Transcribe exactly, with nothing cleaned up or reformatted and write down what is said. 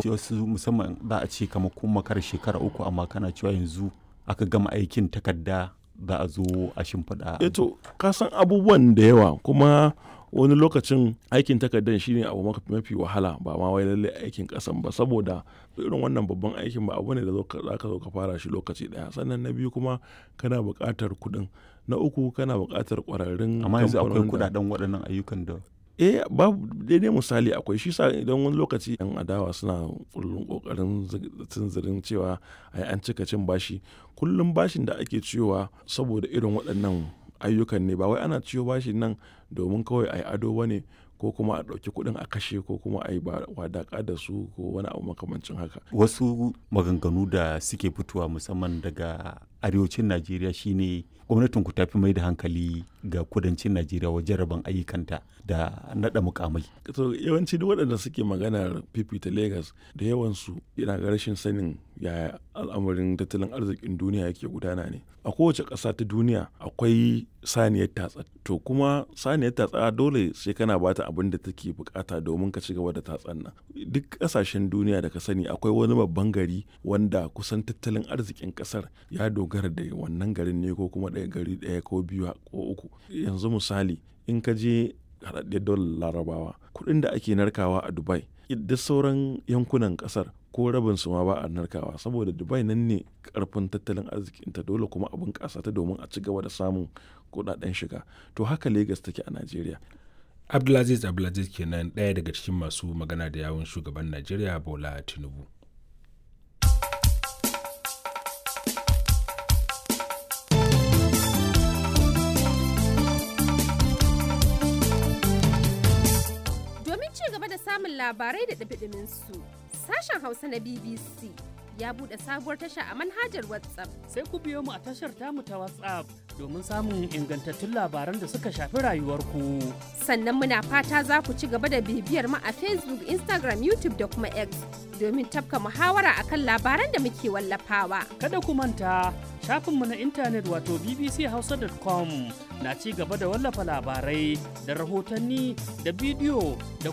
Kuma wasu musamman za a ce kamar kun makara shekara uku, amma kana cewa yanzu aka gama aikin takarda za a zo a shimfiɗa. Eh to, ka san abubuwan da yawa, kuma wani lokacin aikin takardar shine abu mafi wahala, ba ma wai lallai aikin kasan ba, saboda irin wannan babban aikin ba abu ne da za ka zo ka fara shi lokaci daya. Sannan na biyu kuma kana buƙatar kuɗin, na uku kana buƙatar ƙwararrun Amma yanzu akwai kuɗaɗen waɗannan ayyukan da Eh, babu daidai misali akwai shi sa idan wani lokaci yan adawa suna kullum kokarin tunzirin cewa ai an cika cin bashi. Kullum bashin da ake ciyowa saboda irin waɗannan ayyukan ne, ba wai ana ciyo bashin nan domin kawai ai ado bane, ko kuma a ɗauki kuɗin a kashe, ko kuma a yi wadaƙa da su, ko wani abu makamancin haka. Wasu maganganu da suke fitowa musamman daga arewacin Najeriya shine gwamnatin ku tafi mai da hankali ga kudancin Najeriya wajen rabon ayyukanta da naɗa mukamai. To, yawanci duk waɗanda suke maganar fifita Lagos, da yawansu yana ga rashin sanin yaya al'amarin tattalin arzikin duniya yake gudana ne. A kowace ƙasa ta duniya akwai saniyar tatsa. To kuma saniyar tatsa dole sai kana bata abin da take bukata domin ka ci gaba da tatsan nan. Duk ƙasashen duniya da ka sani akwai wani babban gari wanda kusan tattalin arzikin ƙasar ya dogara da wannan garin ne, ko kuma ɗaya gari ɗaya ko biyu ko uku. Yanzu misali, in ka je Haɗaɗɗiyar Daular Larabawa, kuɗin da ake narkawa a Dubai, duk sauran yankunan ƙasar ko rabin su ma ba a narkawa, saboda Dubai nan ne karfin tattalin arzikinta, dole kuma abin ƙasa ta domin a ci gaba da samun kuɗaɗen shiga. To haka Lagos take a Najeriya. Abdulaziz Abdulaziz kenan, ɗaya daga cikin masu magana da yawun shugaban Najeriya Bola Tinubu. Domin ci gaba da samun labarai da ɗumi su, sashen Hausa na B B C ya buɗe sabuwar tasha a manhajar WhatsApp. Sai ku biyo mu a tashar tamu ta WhatsApp domin samun ingantattun labaran da suka shafi rayuwarku. Sannan muna fata za ku ci gaba da bibiyar mu a Facebook, Instagram, YouTube da kuma X domin tafka muhawara akan labaran da muke wallafawa. Kada ku manta, shafinmu na intanet wato B B C hausa dot com na ci gaba da wallafa labarai da rahotanni da bidiyo da kuma